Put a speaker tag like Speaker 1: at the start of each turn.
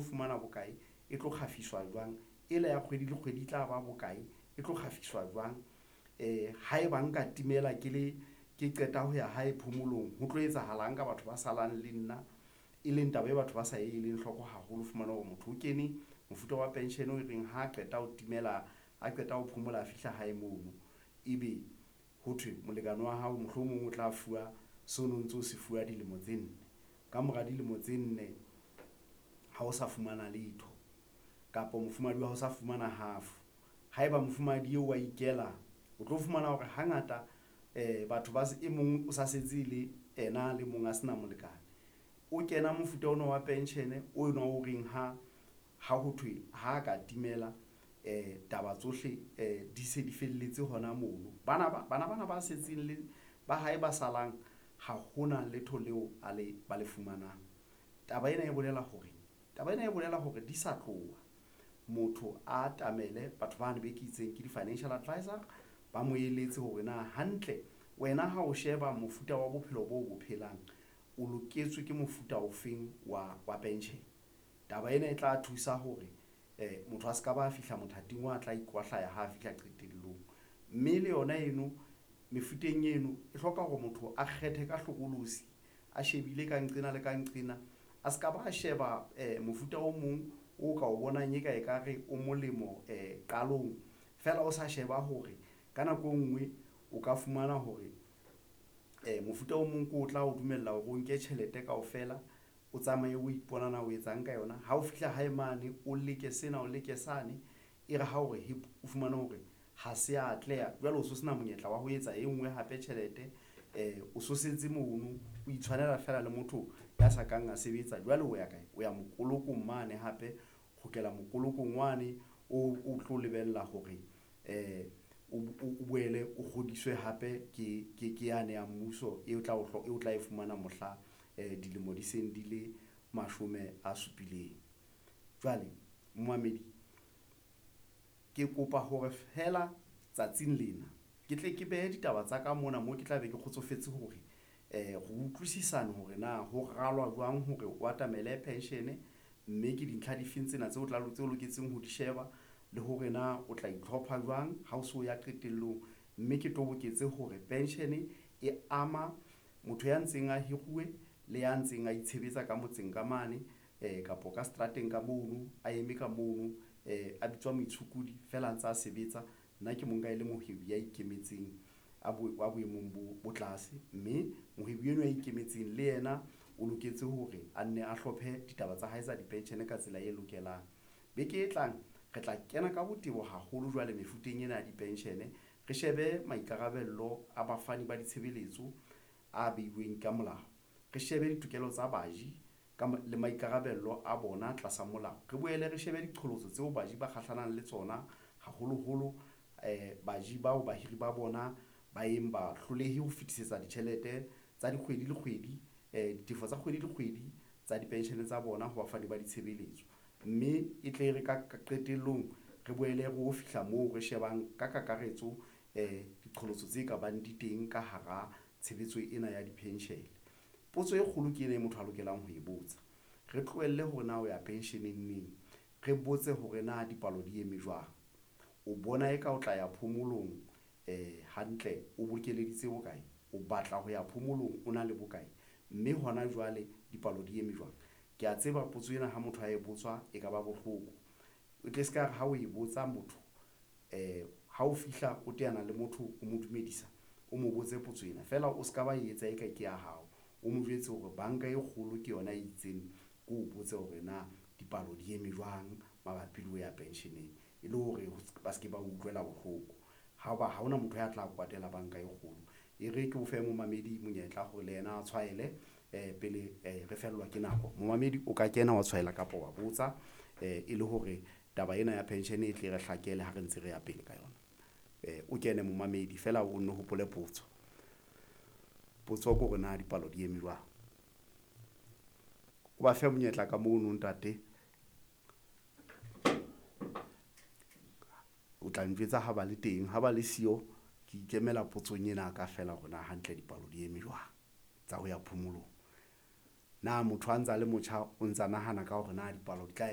Speaker 1: Fumana bokae, e tlo kgafiswa jwang, ela ya kgwedi le kgwedi e tla ba bokae, e tlo kgafiswa jwang. Haeba nka timela ke le ke qeta ho ya hae phomolong, ho tlo etsahalang ka batho ba salang le nna, e leng taba e batho ba sa eleng hloko haholo. Fumana hore motho o kene mofuta wa pension e reng ha qeta ho timela, a qeta ho phomola, a fihla hae mono, ebe ho thwe molekane wa hao mohlomong o tla fuwa so no ntso se fuwa dilemo tse nne. Kamora dilemo tse nne ha o sa fumana letho kapa mofumahadi wa hao sa fumana half. Haeba mofumahadi eo wa ikela, o tlo fumana hore hangata batho ba e mong o sa setse le ena a le mong a se na molekane. O kena mofuta ona wa pension o na o reng ha ho thwe ha ka timela taba tsohle di se di felletse hona mono. Bana ba bana bana ba setseng le ba hae ba salang ha hona letho leo a le ba le fumanang. Taba ena e bolela hore, taba ena e bolela hore di sa tloha motho a atamele batho bane be ke itseng ke di-financial advisor, ba mo eletse hore na hantle wena ha o sheba mofuta wa bophelo bo bo phelang, o loketswe ke mofuta ofeng wa pension. Taba ena e tla thusa hore motho a ska ba fihla mothating wa tla ikwahlaya ha fihla qetellong, mme le yona eno mefuteng eno e hloka hore motho a kgethe ka hlokolosi, a shebile ka nqena le ka nqena, a ska ba sheba mofuta o mong o ka o bonang eka ekare o molemo qalong feela o sa sheba hore ka nako e nngwe o ka fumana hore mofuta o mong ke o tla o dumella hore o nke tjhelete kaofela, o tsamaye o ipona na o etsang ka yona. Ha o fihla hae mane, o leke sena o leke sane, e re ha o re hep! O fumane hore ha se atleha jwale o so sena monyetla wa ho etsa e nngwe hape tjhelete o so setse mono, o itshwanela feela le motho ya sa kang a sebetsa. Jwale o ya kae? O ya mokolokong mane hape, kgutlela mokolokong wane o tlo lebella hore o boele o kgodiswe hape ke yane ya mmuso e tla o tla e fumana mohla dilemo di seng di le 70. Jwale momamedi ke kopa hore feela tsatsing lena ke tle ke behe ditaba tsa ka mona mo ke tla be ke kgotsofetse hore re utlwisisane hore na ho ralwa jwang hore o atamele pension, mme ke dintlha difeng tsena tseo tla tseo loketseng ho di sheba le hore na o tla itlhopha jwang ha o so ya qetellong. Mme ke toboketse hore pension e ama motho ya ntseng a hiruwe le ya ntseng a itshebetsa ka motseng ka mane kapo ka seterateng ka mono, a eme ka mono a bitswa moitshokodi feela a ntsa sebetsa. Nna ke mo nka e le mohwebi ya ikemetseng a wa boemong bo tlase, mme mohwebi enwa ya ikemetseng le yena o loketse hore a nne a hlophe ditaba tsa hae tsa di-pension ka tsela e lokelang. Beke e tlang re tla kena ka botebo haholo jwale mefuteng ena ya di-pension, re shebe maikarabello a bafani ba ditshebeletso a beuweng ka molao, re shebe ditokelo tsa baji ka le maikarabello a bona tlasa molao, re boele re shebe diqholotso tseo baji ba kgahlanang le tsona, haholoholo baji bao bahiri ba bona ba yeng ba hlolehe ho fetisetsa ditjhelete tsa dikgwedi le kgwedi, ditefo tsa kgwedi le kgwedi tsa di-pension tsa bona ho bafani ba ditshebeletso. Mme e tle re ka qetellong re boele re o fihla moo re shebang ka kakaretso diqholotso tse ka bang di teng ka hara tshebetso ena ya di-pension. Potso e kgolo ke ena e motho a lokelang ho e botsa, re tlohelle hore na o ya pension-eng neng, re botse hore na dipalo di eme jwang. O bona eka o tla ya phomolong hantle, o bokeleditse bokae, o batla ho ya phomolong, o na le bokae, mme hona jwale dipalo di eme jwang. Kea tseba potso ena ha motho a e botswa e ka ba bohloko, o tle se ka re ha o e botsa motho ha o fihla o teana le motho o mo dumedisa, o mo botse potso ena feela o ska ba etsa eka ke ya hao, o mo jwetse hore banka e kgolo ke yona e itseng ko o botse hore na dipalo di eme jwang mabapi le ho ya pension-eng e le hore ba se ke ba utlwela bohloko. Ha ba ha hona motho ya tla kwatela banka e kgolo. E re ke o fe momamedi monyetla hore le yena a tshwaele pele re fellwa ke nako. Momamedi o ka kena wa tshwaela kapa wa botsa e le hore taba ena ya pension e tle re hlakele ha re ntse re ya pele ka yona. O kene momamedi feela o nno hopole potso. Potso ke hore na dipalo di eme jwang. O ba fe monyetla ka mono ntate. O tla njwetsa ha ba le teng, ha ba le siyo, ke ikemela potsong ena ka feela hore na hantle dipalo di eme jwang tsa ho ya phomolong. Na motho a ntsa le motjha o ntsa nahana ka hore na dipalo di tla